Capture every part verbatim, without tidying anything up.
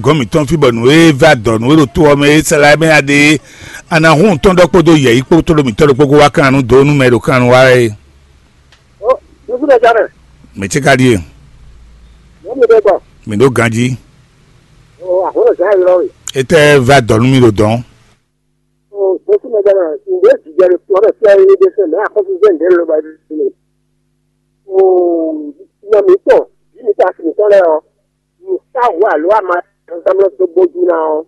Gɔn mǐtɔn fí bɔ nǔ e vɛ́ adɔ̌ nú é ɖo to ɔ́ mɛ é sɛ́ lá mɛ nya ɖe é, a nǎ hun tɔn ɖɔ kpódó yɛ̌yi kpó tlóló mǐtɔn ɖokpó kó wá kan nǔ dó nú mɛ e ɖo kan wá é. Ó, Jésù mɛ jánɛ, Mǐ ce ka ɖíe, mɔ̌ mi ɖe gbɔ, mǐ ɖó ganjí. Ó, àhǒlò zǎn ylɔ́ we. Étɛ́ vɛ́ adɔ̌ nú mì ɖo dɔ̌n? Ó, Jésù mɛ jánɛ, ǹdě jijɛ ɖo tɔ ɖe fia yi ɖe fɛn mɛ axɔ́súzɛ ǹdě ló ba ɖi ne. Ó, nɔ mǐtɔn, vǐ mǐtɔn asi mǐtɔn lɛ́ɛ ɔ́, nǔ sa hǔ alo ama zǎnmlɔ́ dó bójú ná ɔ́,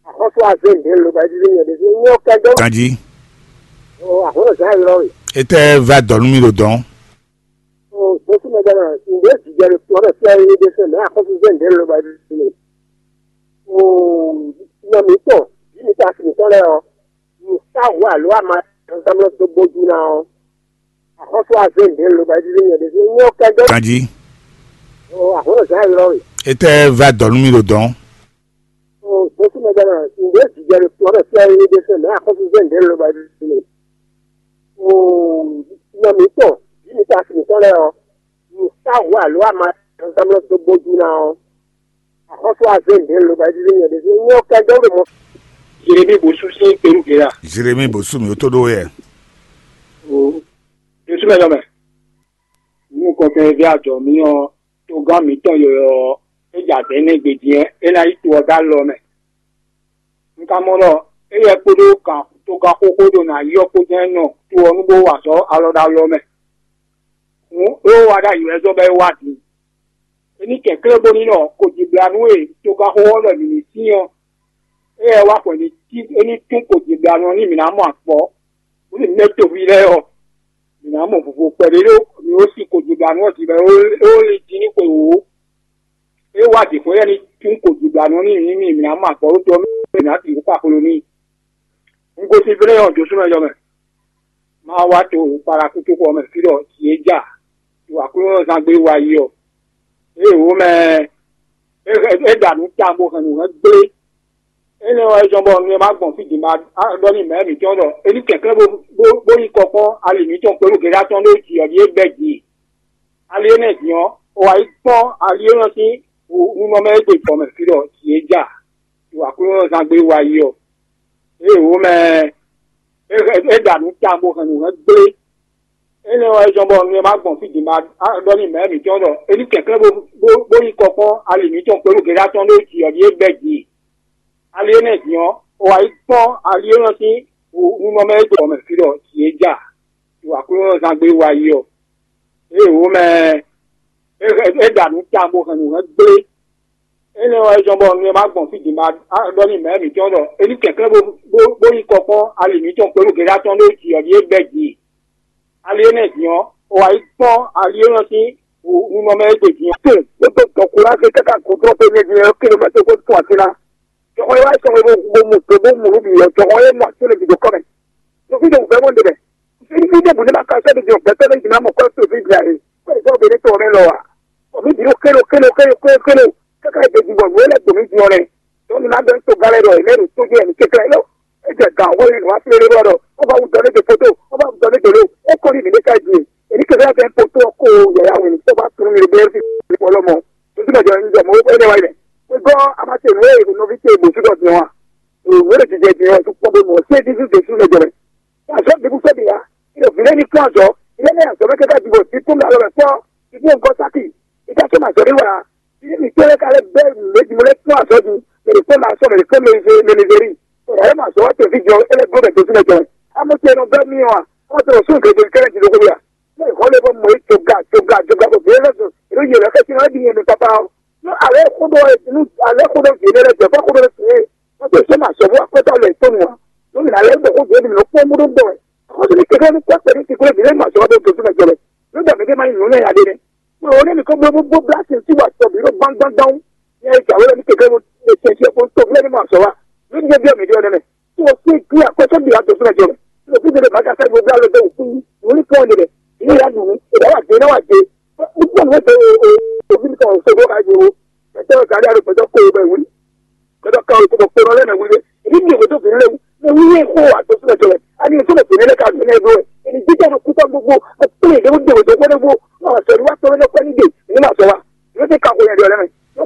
axɔ́sú azé ǹdě ló ba ɖi ne nyɛ ɖésú nyɛ ɔ́ kɛdó. Ganjí. Ó, àhǒlò zǎn ylɔ́ we. Étɛ́ vɛ́ adɔ̌ nú mì ɖo dɔ̌n? Ó, Jésù mɛ jánɛ, ǹdě jijɛ ɖo tɔ ɖe fia yi ɖe fɛn mɛ axɔ́súzɛ ǹdě ló ba ɖi ne. Ó, nɔ mǐtɔn, vǐ mǐtɔn asi mǐtɔn lɛ́ɛ ɔ́, nǔ sa hǔ alo ama zǎnmlɔ́ dó bójú ná ɔ́, axɔ́sú azé ǹdě ló ba ɖi ne nyɛ ɖésú nyɛ ɔ́ kɛdó. Ganjí. Ó, àhǒlò zǎn ylɔ́ we. Étɛ́ vɛ́ adɔ̌ nú mì ɖo dɔ̌n? Ó, Jésù mɛ jánɛ, ǹdě jijɛ ɖo tɔ ɖe fia yi ɖe fɛn mɛ axɔ́súzɛ ǹdě ló ba ɖi ne. Ó, nɔ mǐtɔn, vǐ mǐtɔn asi mǐtɔn lɛ́ɛ ɔ́, nǔ sa hǔ alo ama zǎnmlɔ́ dó bójú ná ɔ́, axɔ́sú azé ǹdě ló ba ɖi ne nyɛ ɖésú nyɛ ɔ́ kɛdó ɖo mɔ. Jeremi bó sú sín kpelú gěra. Jeremi bó sú mì ó tó ɖó wɛ. Ó, Jésù mɛ nɔ mɛ. Nú kɔkɛn ví ajɔ mǐ ɔ́, togán mǐtɔn yɔyɔ ɔ́, é jɛ azɛ̌ nɛ́ gbe din ɔ́, é ná yi to ɔ́ dó alɔ mɛ. Un ka mɔ ɖɔ éyɛ́ kpódó kan togán xóxó ɖo nǎ yi ɔ́ kpó jɛ́n nɔ to ɔ́ nú bó wa azɔ̌ alɔ ɖo alɔ mɛ. Hǔn é wá ɖ'ayǐ wɛ zɔ́n bɔ é wá din. É ní kɛnklɛ́n bónú nɔ kojiblanú e togán xóxó ɔ́ ɖɔ mǐ ní sin ɔ́, éyɛ́ wá xwɛ ní cí é ní tún kojiblanú ɔ́ nú mǐ ná mɔ akpɔ́. Bónú mɛ toví lɛ́ɛ ɔ́, mǐ ná mɔ vovo kpɛɖé ɖó mǐ ó sin kojiblanú ɔ́ din bɔ é ó lin dín ní xwe wǒ. É wá jǐxwé lɛ́ɛ ní tún kojiblanú n'i nú mì, mǐ ná mɔ agɔ̌ ɖó to ɔ́ mɛ, mǐ ná sixú kpa xwlo n'i. Un gosín Flɛ́nyɔ́ Josúmɛ jɔ mɛ. Má wá to Palakútu xɔ mɛ fí ɖɔ jǐ é ja, ɖo Aklúnɔzán gbe wá yi ɔ́. Ée wǒ mɛ é é ɖa nǔ tawun bó hɛn nǔ hɛn gblé. Énɛ́ ɔ́, é zɔ́n bɔ nu e ma gbɔn fí din ma ɖɔ n'i mɛ̌ mǐtɔn ɖɔ é ní kɛnklɛ́n bó bó bó yi kɔ kpɔ́n ali mǐtɔn kpé ɖo Gɛ̌dá tɔn ɖó jǐ ɔ́ ɖíe bɛ́ din. Ali énɛ́ din ɔ́, è wǎ yi kpɔ́n ali élɔ́ sín nunɔmɛ e gbe jɔ mɛ fí ɖɔ jǐ é ja, ɖo Aklúnɔzán gbe wá yi ɔ́. Ée wǒ mɛ é é ɖa nǔ tawun bó hɛn nǔ hɛn gblé. Énɛ́ ɔ́, é zɔ́n bɔ nu e ma gbɔn fí din ma ɖɔ n'i mɛ̌ mǐtɔn ɖɔ é ní kɛnklɛ́n bó bó bó yi kɔ kpɔ́n ali mǐtɔn kpé ɖo Gɛ̌dá tɔn ɖó jǐ ɔ́ ɖíe bɛ́ din. Ali énɛ́ din ɔ́, è wǎ yi kpɔ́n ali élɔ́ sín nunɔmɛ e gbe jɔ mɛ fí ɖɔ jǐ é ja, ɖo Aklúnɔzán gbe wá yi ɔ́. Ée wǒ mɛ é é ɖa nǔ tawun bó hɛn nǔ hɛn gblé. Énɛ́ ɔ́, é zɔ́n bɔ nu e ma gbɔn fí din ma ɖɔ n'i mɛ̌ mǐtɔn ɖɔ é ní kɛnklɛ́n bó bó bó yi kɔ kpɔ́n ali mǐtɔn kpé ɖo Gɛ̌dá tɔn ɖó jǐ ɔ́ ɖíe bɛ́ din. Ali énɛ́ din ɔ́, è wǎ yi kpɔ́n ali élɔ́ sín nunɔmɛ e gbe din ɔ́. Te, é dó dɔ̌nkúnlá káká gǔdo ɔ́, bɔ é nyɛ din ɔ́, kilomɛ́tɛ́ xó tún atín ná. Jɔhɔn e wá sɔn e bó bó mu dó bó mu nǔ bǐ ɔ́, jɔhɔn e mɔ atín lě bǐ dó kɔ mɛ. Nɔví ɖe wǔvɛ́ mɔ ɖe mɛ. Fí fí ɖěbǔ ní ma ka sɛ́ ɖě jɔ gbɛtɔ́ lɛ́ɛ jí ná mɔ kɔ́ to fí jà e. Kɔ́ ìfɔ́ be ní tɔn mɛ lɔ ǎ. Bɔ mǐ bǐ ɖo kélo kélo kélo kélo kélo. Káká yi ɖeji bɔ nǔ e lɛ́ dǒ mì jí ɔ́ nɛ́. Tɔ́ mi ná bɛ́ tó gán lɛ́ɛ ɖɔ è lɛ́ ɖo tó jɛ mǐ kɛ́klɛ́ ló. É jɛ gǎn xó yi wá flélé bɔ ɖɔ ó bá wú dɔ ní ɖe poto, ó bá wú dɔ ní ɖe ló. É kɔ ní mǐ ní ká yi din. È ní kɛfẹ́ bɛ́ poto ɔ́ kó yǎyá wǐn ní tó bá tunú mi ɖe bɛ́ fi fɔlɔmɔ. Tó tún bɛ jɔ ní jɔ mɔ é nɛ wá yi mɛ. Xwé gɔ́ a ma se nǔ e nɔví ce bǒ sú ɖɔ din ɔ́ a? Nǔ e jijɛ din ɔ́, é kún kpɔ́n bó mɔ sé Jezu Jezu lɛ jɔ mɛ. Azɔ̌ ɖěbǔ sɔ́ ɖe ǎ. Ɖo vǐ lɛ́ɛ ní kplɔ́n azɔ̌. Vǐ lɛ́ɛ ní azɔ̌ mɛ káká ɖi bɔ dípúmɛ alɔ mɛ kpɔ́. Dípúmɛ gɔ́ sákì. Ìdájọ́ màzɔ́ ní wà. Vǐ lɛ́ɛ ní kplɔ́n lɛ́ ka lɛ́ gbɛ́ nǔléjì mɔ lɛ́ kplɔ́n azɔ̌ ɖi. Mɛ ɖě kplɔ́n ma sɔ́ mɛ ɖě kplɔ́n mɛ mɛ ní zé ní. Bɔ yǎ lɛ màzɔ́ wá tɛ fí jɔ é lɛ́ bló mɛ Jezu mɛ jɔ mɛ. Amɔ́ ce nɔ bɛ́ mì ɔ́ a? Amɔ́ ce nɔ sú gěgé kɛ́lɛ́ jǐ ɖokpó ya. Mɛ xɔ lé bɔ mɔ yí joga joga joga bɔ vǐ lɛ́ɛ lɛ́ sɔn. Èɖó yě lɛ́ xɛsi náà é ɖi nyɛ mi papa ɔ́. Nú alɛ xó ɖɔ nú alɛ xó ɖɔ vǐ lɛ́ɛ lɛ́ jɛ fɔ xó ɖɔ sɛ. Wọ́n tó sọ ma sọ fún akpẹ́tọ́ lẹ̀ tó nù ọ́. Lómìnira lẹ́yìn tó kó gbé nìyẹn kó múdó gbọ́ ẹ̀. Àwọn tó ní kékeré ní kó pẹ̀lú ti kúrò nílé màá sọ ọ́ tó tó tó mẹ́jọ rẹ̀. Ló dàbí dé máa ń yàn náà yàdé ni. Mo rò ó ní nìkan gbogbo gbogbo bíláṣì sí wà sọ bí ló gbánggbánggbáng. Ní ẹ ìjà wẹ́rẹ́ ní kékeré mo lè ṣe ṣe kó tó fúlẹ́ ní màá sọ wa. Ló ní bí ọ̀mì dé ọ̀nà mẹ́. Tí wọ́n sí kí akpẹ́tọ́ bí àtọ̀ fún ẹ̀jọ̀ rẹ̀. Ló fi dèrè bàtà fẹ́ gbogbo alẹ́ tó wù fún yín. Mo ní kí wọ́n dèrè. Ìyá ìyá dùn ún. Ìdá wà dé náà wà dé. Gbogbo àwọn ètò òfin kan ò ṣe bó ka jẹ o. Ẹ̀tọ́ ìkàlẹ́ àrùn pẹ̀tọ́ kó o bẹ̀ wí. Kɔjɔ kan o ko kpɔnɔ lɛ mɛ wuli. Ebi mi o to fini lɛ wu. Mɛ wuli ko a to sinɛ tɔlɛ. Ani to mɛ fini lɛ ka fini lɛ do.